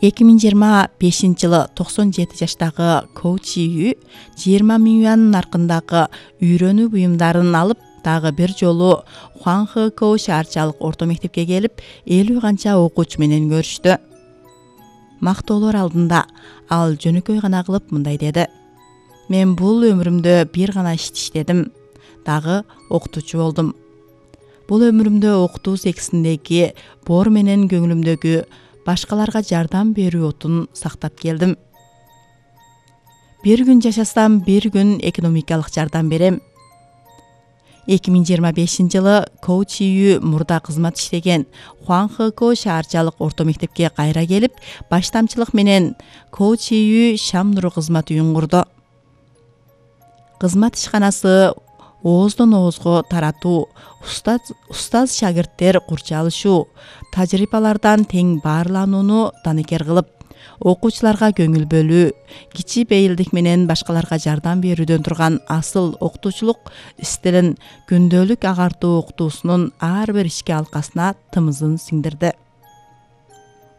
2025-жылы 97 жаштагы Коу Чи Ю 20 миң юан наркындагы үйрөнүү буюмдарын алып, дагы бир жолу Хуанхэкоу шаарчалык орто мектепке келип, 50 канча окуучу менен көрүштү. Мактоолор алдында ал жөнөкөй гана кылып мындай деди: "Мен бул өмүрүмдө бир гана ишти иштедим, дагы окутуучу болдум. Бул өмүрүмдө окутуу секисиндеги боор менен көңүлүмдөгү башкаларга жардам берүү отун сактап келдим. Бир күн жашасам, бир күн экономикалык жардам берем." 2025-жылы Коу Чи Ю мурда кызмат иштеген Хуанхэкоу шаарчалык орто мектепке кайра келип, баштамчылык менен Коу Чи Ю Шам нуру кызмат үйүн курду. Кызмат ишканасы ооздон оозго таратуу, устаз шагирттер курчалышуу, тажрыйбалардан тең баарланууну данекер кылып, окуучуларга көңүл бөлүү, кичи бейилдик менен башкаларга жардам берүүдөн турган асыл окутуучулук стилин күндөлүк агартуу окутуусунун ар бир ишке алкасына тымызын сиңдирди.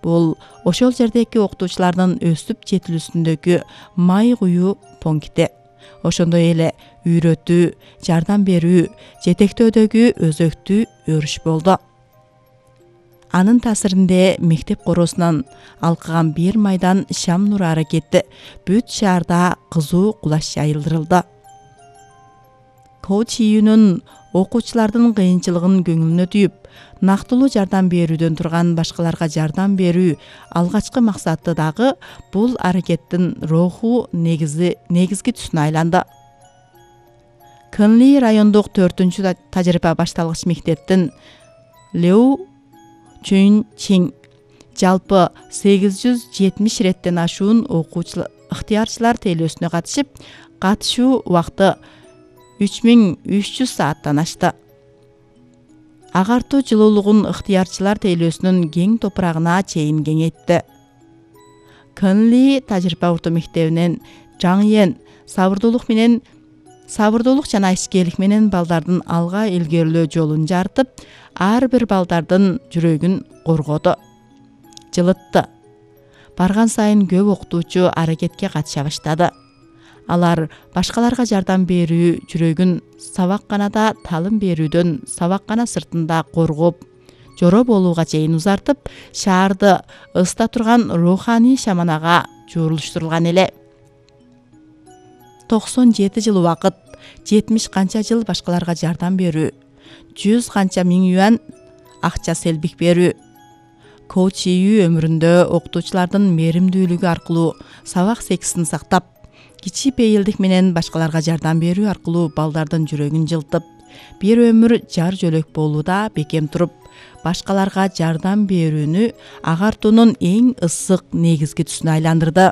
Бул ошол жердеги окутуучулардын өсүп жетилүүсүндөгү май куюу пункти. Ошондой эле үйрөтүү, жардам берүү, жетектөөдөгү өзөктүү өрүш болду. Анын таасиринде мектеп короосунан алкыган бир майдан Шам нуру аракети бүт шаарда кызуу кулаш жайылдырылды. Коу Чи Юнун окуучулардын кыйынчылыгын көңүлүнө түйүп, нактылуу жардам берүүдөн турган башкаларга жардам берүү алгачкы максаты дагы бул аракеттин руху негизги түсүнө айланды. Кынли райондук 4-чү тажрыйба башталгыч мектептин Леу Чүн Чин жалпы 870 реттен ашуун ыктыярчылар тейлөөсүнө катышып, катышуу убакыты 3300 сааттан ашты. Агартуу жылуулугун ыктыярчылар тейлөөсүнүн кең топурагына чейин кеңейтти. Кынли тажрыйба орто мектебинен Жаңьен сабырдуулук жана ишкерлик менен балдардын алга илгерилөө жолун жарытып, ар бир балдардын жүрөгүн коргоду, жылытты. Барган сайын көп окутуучу аракетке катыша баштады. Алар башкаларга жардам берүү жүрөгүн сабакканада талым берүүдөн сабаккана сыртында коргоп, жоро болууга чейин узартып, шаарды ыста турган руханий шаманага жуурулуштурулган эле. 97 жыл убакыт, 70 канча жыл башкаларга жардам берүү, 100 канча миң юан акча селбик берүү. Коу Чи Ю өмүрүндө окутуучулардын мээримдүүлүгү аркылуу сабак секисин сактап, кичи бейилдик менен башкаларга жардам берүү аркылуу балдардын жүрөгүн жылтып, бир өмүр жар жөлөк болууда бекем туруп, башкаларга жардам берүүнү агартуунун эң ысык негизги түсүнө айландырды.